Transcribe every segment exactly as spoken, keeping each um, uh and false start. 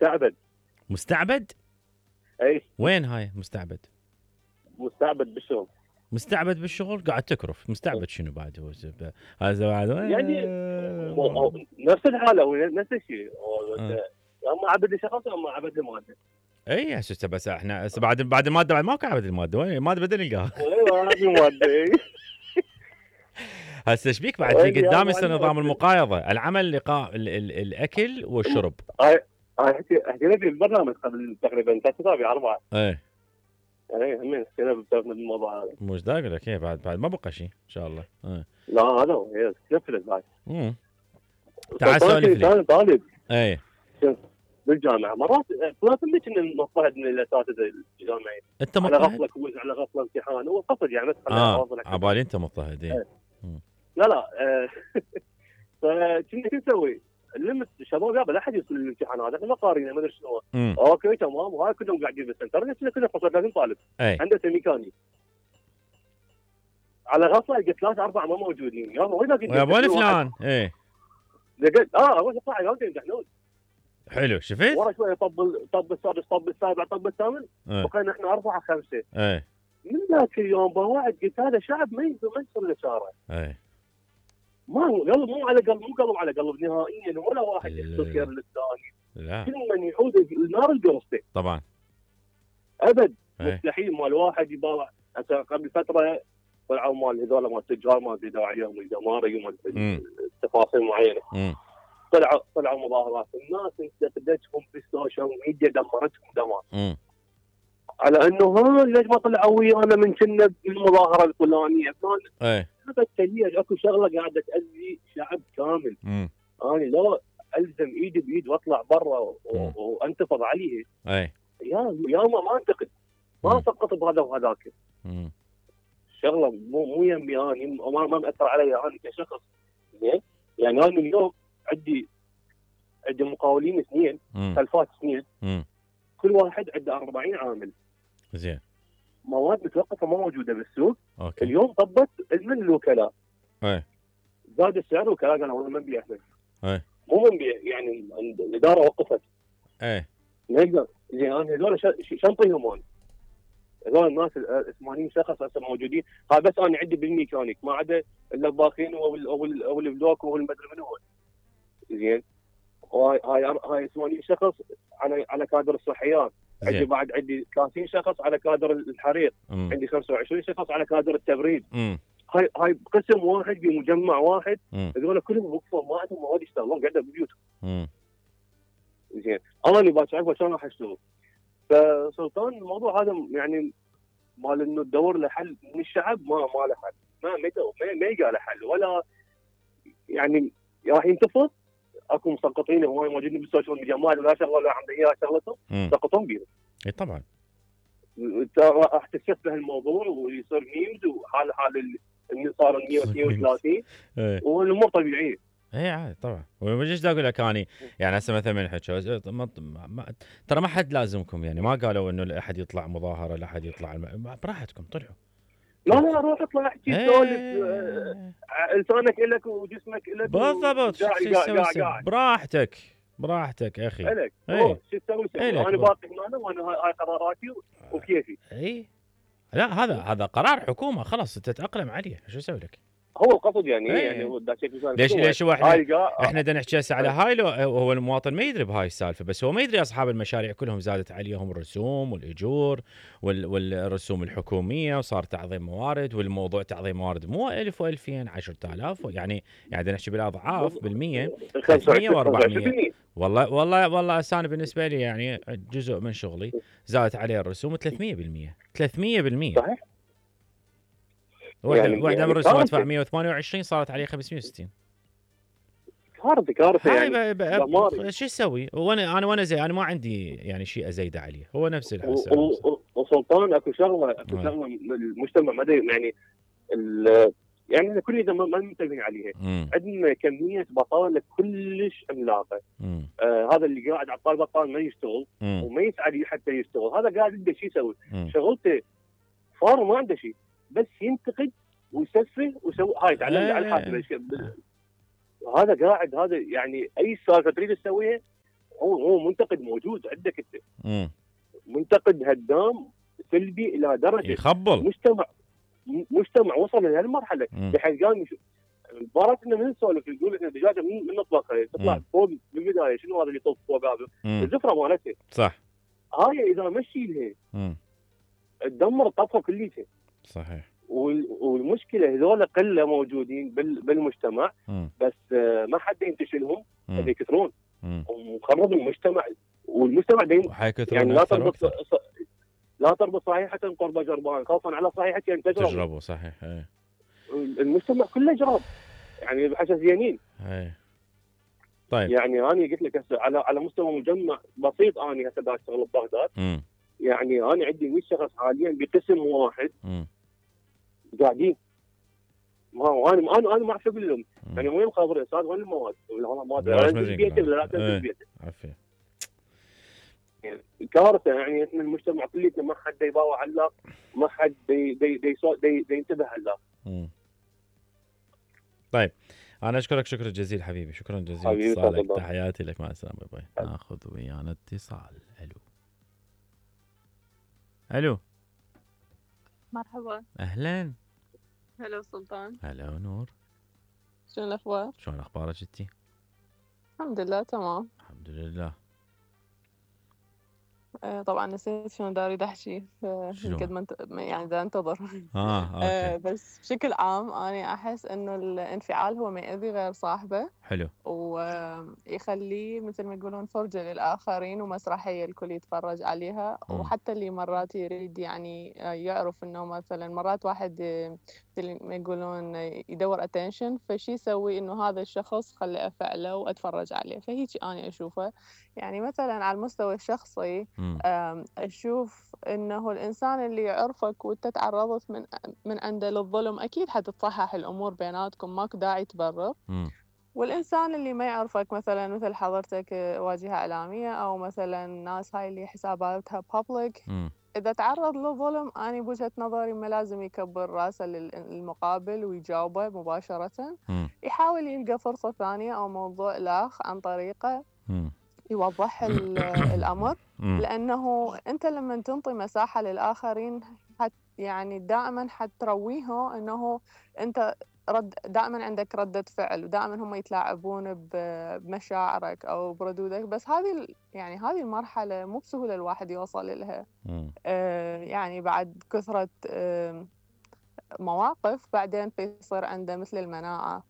مستعبد. مستعبد؟ اي وين هاي مستعبد؟ مستعبد بالشغل. مستعبد بالشغل قاعد تكرف. مستعبد شنو بعد هو زب- هذا بعد يعني نفس الحاله هو نفس الشيء. آه. اما عبد شخص اما عبد الماده. اي هسه بس احنا هسه بعد بعد الماده بعد ماكو عبد الماده. وين الماده بدنا نلقاها. ايوه هذه الماده. هسه ايش بيك بعد في أي قدام يا يصير معلم. نظام المقايضه، العمل لقاء ال ال الاكل والشرب. هاي هاي حكي- حكينا في البرنامج قبل تقريبا ثلاث اسابيع اربعه. ايه اي همين حكينا بالموضوع هذا. مش دا اقول لك ايه بعد بعد ما بقى شيء ان شاء الله. ايه لا هذا هو هي نفذت بعد. امم تعال سولف لي. كان طالب ايه بالجامعه مرات لازم ليش ان نضطهد من الاساتذه الجامعيين. انت على مضطهد؟ غفله كويز على غفله امتحان هو قصد يعني بس اه عبالي انت مضطهد. ايه لا لا آه، فكنا شو نسوي؟ نلمس الشباب يابا لا احد يوصل للامتحانات احنا ما قارينا ما ادري شنو. امم اوكي تمام وهاي كلهم قاعدين بالسنتر نفسنا كلنا ثلاثين طالب ايه عنده ميكاني. على غفله لقيت ثلاثة أربعة ما موجودين يابا وين باقي؟ يا ابو فلان. ايه لقيت اه اول يطلع يقعدون يمتحنون. حلو شفت؟ ورا شويه طب طب السادس طب السابع طب الثامن ايه بقينا احنا أربعة خمسة. ايه من ذاك اليوم بواعد قلت هذا شعب ما يقدر ما يصير له شارع. ايه ما قلب مو على قلب مو قلب على قلب نهائيا ولا واحد يحط خير للثاني. لا كل من يحوز النار القرصه. طبعا ابد ايه مستحيل مال واحد يباوع. هسه قبل فتره طلعوا مال هذول مال التجار ما ادري داعيهم الجمارك وما امم تفاصيل معينه. امم طلعوا طلعوا مظاهرات الناس انتقدتهم في السوشيال ميديا دمرتهم دمار. امم على انه ها ليش ما طلعوا ويانا من كنا بالمظاهره الفلانيه فلان. ايه هذا التليج اكو شغله قاعده تاذي شعب كامل. امم انا لا الزم ايدي بايد واطلع برا و- مم. وانتفض عليه. ايه يا يا ما ما انتقد ما مم. سقط بهذا وهذاك. امم شغله مو مو يمي اني ما ما مأثر علي انا كشخص. زين يعني انا اليوم عندي عندي مقاولين اثنين امم خلفات اثنين امم كل واحد عنده أربعين عامل. زين مواد متوقفه ما موجوده بالسوق. اوكي اليوم طبت من الوكلاء ايه زاد السعر وكلاء قالوا والله ما نبيع احنا. ايه مو ما نبيع يعني الاداره وقفت. ايه ما يقدر زين انا هذول شنطيهم انا. هذول الناس ال ثمانين شخص هسه موجودين هاي بس انا عندي بالميكانيك ما عدا الطباخين او ال او ال او البلوك او المدري من هو. زين هاي هاي هاي ثمانين شخص على على كادر الصحيات. عندي زين بعد عندي ثلاثين شخص على كادر الحريق. امم عندي خمسة وعشرين شخص على كادر التبريد. امم هاي هاي قسم واحد بمجمع واحد. امم هذول كلهم وقفوا ما عندهم مواد يشتغلون قاعده ببيوتهم. امم زين انا اللي باش اعرف شلون راح اشتغل. فسلطان الموضوع هذا يعني مال انه تدور له حل من الشعب ما ما له حل. ما ما ما, ما يلقى له حل ولا يعني راح ينتفض. اكو مسقطين هواي موجودين بالسوشيال ميديا ما لا شغله ولا عنده اياها شغلتهم سقطون بيهم. اي طبعا انت راح تستشبه الموضوع ويصير ميمز وحال حال اللي صار مية واثنين وثلاثين ايه والامور طبيعيه. اي عادي طبعا. وش دا اقول لك اني يعني هسه مثلا من حكوا ترى ما حد لازمكم يعني ما قالوا انه احد يطلع مظاهره لا احد يطلع الم... براحتكم طلعوا. لا لا روح اطلع احكي سولف. لسانك الك وجسمك الك بالضبط. براحتك براحتك يا اخي. الك شو تسوي؟ انا باقي هنا وانا هاي قراراتي وكيفي. اي لا هذا هذا قرار حكومه خلاص تتاقلم عليه شو اسوي لك. هو القصد يعني ايه. يعني هو ليش ليش هو احنا احنا بدنا نحكي هسه على هاي لو هو المواطن ما يدري بهاي السالفه بس هو ما يدري اصحاب المشاريع كلهم زادت عليهم الرسوم والاجور وال والرسوم الحكوميه وصار تعظيم موارد والموضوع تعظيم موارد مو ألف وألفين عشرة آلاف يعني يعني بدنا نحكي بالاضعاف بالمية ثلاثمية وأربعمية. والله والله والله انا بالنسبه لي يعني جزء من شغلي زادت عليه الرسوم ثلاثمية بالمية ثلاثمية بالمية صحيح. واحدة يعني واحدة يعني من الرسوم ادفع مية وثمانية وعشرين صارت عليه خمسمية وستين. كارثة كارثة يعني. هاي شو اسوي؟ وانا انا وانا زي انا ما عندي يعني شيء ازيد عليه هو نفس الحس. وسلطان اكو شغله اكو شغله المجتمع ما يعني يعني كلنا ما منتبهين عليها. عندنا كمية بطالة كلش عملاقة. آه هذا اللي قاعد على الطاوله بطال ما يشتغل مم. وما يسعى حتى يشتغل. هذا قاعد عنده شيء يسوي شغلته فار ما عنده شيء بس ينتقد ويسفه ويسوي هاي تعلم على الحاسب. هذا قاعد هذا يعني اي سالفه تريد تسويها هو هو منتقد موجود عندك انت. م. منتقد هدام سلبي الى درجه يخبل. مجتمع مجتمع وصل لهالمرحله بحيث قال مباراه انه من نسولف نقول ان الدجاجه من من نطبخها تطلع فوق بالبدايه شنو هذا اللي يطوف فوق هذا الزفره مالتها صح. هاي اذا مشي لها تدمر الطبخه كليتها. صحيح. والمشكله هذول قله موجودين بالمجتمع م. بس ما حد ينتشلهم يكثرون ومخرب المجتمع والمجتمع دايما يعني لا تربط لا تربط صحيحه قرب جربان خوفا على صحيحه ان تجربوا. تجربوا صحيح. ايه. المجتمع كله جراب يعني بحساسينين. ايه. طيب يعني انا قلت لك هسه على على مستوى مجمع بسيط انا هسه دا اشتغل ببغداد م. يعني انا عندي مية شخص حاليا بقسم واحد م. قاعدين ما هو انا انا انا ما اعرف اقول لهم يعني وين الخبر يا استاذ وين المواد؟ والله ما ادري انزل بيتي ولا لا تنزل بيتي. عافيه. يعني كارثه يعني احنا المجتمع كليته ما حد يباوع علاق ما حد دي دي دي, دي, دي ينتبه علاق. طيب انا اشكرك شكرا جزيلا حبيبي شكرا جزيلا اتصالك تحياتي لك مع السلامه باي. ناخذ ويانا اتصال. الو الو مرحبا. اهلا. هلا سلطان. هلا نور. شلون الاخبار؟ شلون اخبارك انتي؟ الحمد لله تمام. الحمد لله. آه طبعا نسيت شلون دا اريد احكي قد ما انت يعني دا انتظر. اه اوكي. آه بس بشكل عام انا احس انه الانفعال هو ما يأذي غير صاحبه. حلو. ويخليه مثل ما يقولون فرجه للاخرين ومسرحيه الكل يتفرج عليها. م. وحتى اللي مرات يريد يعني يعرف انه مثلا مرات واحد مثل ما يقولون يدور اتنشن فشي يسوي انه هذا الشخص خلي افعله واتفرج عليه. فهيك انا اشوفه يعني مثلا على المستوى الشخصي أشوف إنه الإنسان اللي يعرفك وأنت تعرضت من من عنده للظلم أكيد حتتصحح الأمور بيناتكم ماكو داعي تبرر. والإنسان اللي ما يعرفك مثلا مثل حضرتك واجهة إعلامية أو مثلا ناس هاي اللي حساباتها public إذا تعرض للظلم أنا بوجهة نظري ما لازم يكبر راسه للمقابل ويجاوبه مباشرة. م. يحاول يلقى فرصة ثانية أو موضوع لاخ عن طريقه م. يوضح الأمر. لأنه أنت لما تنطي مساحة للآخرين حت يعني دائما حترويه أنه أنت رد دائما عندك ردة فعل ودائما هم يتلاعبون بمشاعرك أو بردودك. بس هذه يعني هذه المرحلة مو بسهولة الواحد يوصل لها. آه يعني بعد كثرة آه مواقف بعدين يصير عنده مثل المناعة.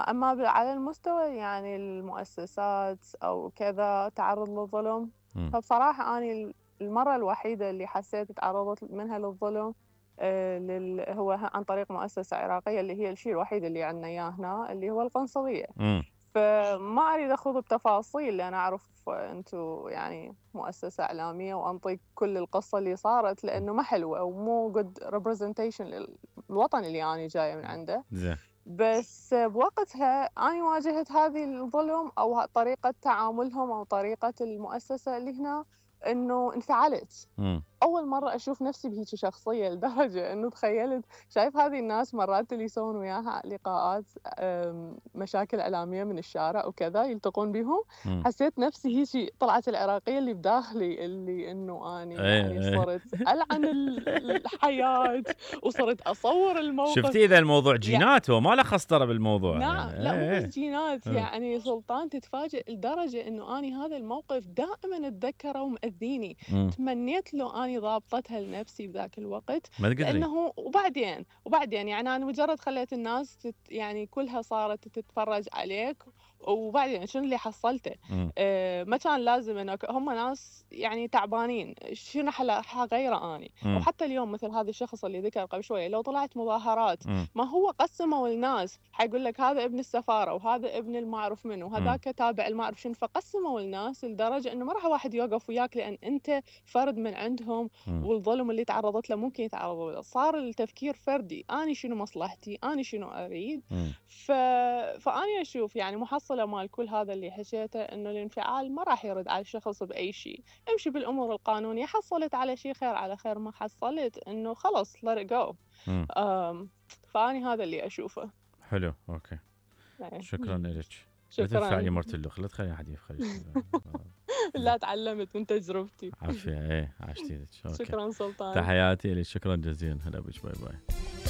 أما على المستوى يعني المؤسسات أو كذا تعرض للظلم م. فبصراحة أنا المرة الوحيدة اللي حسيت تعرضت منها للظلم آه لل... هو عن طريق مؤسسة عراقية اللي هي الشيء الوحيد اللي عندنا إياه هنا اللي هو القنصلية. م. فما أريد أخوض بتفاصيل لأن أعرف أنتوا يعني مؤسسة إعلامية وأنطيك كل القصة اللي صارت لأنه ما حلوة ومو good representation للوطن اللي أنا جاية من عنده. زين. بس بوقتها أنا واجهت هذه الظلم أو طريقة تعاملهم أو طريقة المؤسسة اللي هنا إنه انفعلت. م. أول مرة أشوف نفسي بهيك شخصية لدرجة إنه تخيلت شايف هذه الناس مرات اللي يسوون وياها لقاءات مشاكل إعلامية من الشارع وكذا يلتقون بهم. م. حسيت نفسي هيك طلعت العراقية اللي بداخلي اللي إنه أنا يعني صرت ألعن الحياة وصرت أصور الموقف. شفتي إذا الموضوع جينات يعني وما له خسطرة بالموضوع. نعم يعني. لا مو بس جينات يعني سلطان تتفاجئ لدرجة إنه أنا هذا الموقف دائما أتذكره ومأذيني. م. تمنيت له أنا ضابطتها لنفسي بذاك الوقت لأنه وبعدين وبعدين يعني أنا مجرد خليت الناس تت يعني كلها صارت تتفرج عليك وبعدين شنو اللي حصلته؟ آه ما كان لازم إنه هم ناس يعني تعبانين شنو حغيره أني. م. وحتى اليوم مثل هذا الشخص اللي ذكر قبل شوية لو طلعت مظاهرات م. ما هو قسموا الناس حيقول لك هذا ابن السفارة وهذا ابن المعرف منه وهذاك تابع المعرف شنو. فقسموا الناس لدرجة إنه ما راح واحد يوقف وياك لأن أنت فرد من عندهم. م. والظلم اللي تعرضت له ممكن يتعرضوا له. صار التفكير فردي أنا شنو مصلحتي أنا شنو أريد. ف... فأنا أشوف يعني محصلة مال كل هذا اللي حكيته إنه الانفعال ما راح يرد على الشخص بأي شيء. امشي بالأمور القانونية حصلت على شيء خير على خير ما حصلت إنه خلص let it go. فأنا هذا اللي أشوفه. حلو أوكي. شكرا لك. شكرا. لا تدفعني مرت اللخ لا تخلي أحد يفخر. لا تعلمت من تجربتي. عافيه. ايه عشتي. شكرا سلطان. تحياتي لك. شكرا جزيلا. هلا بك. باي باي.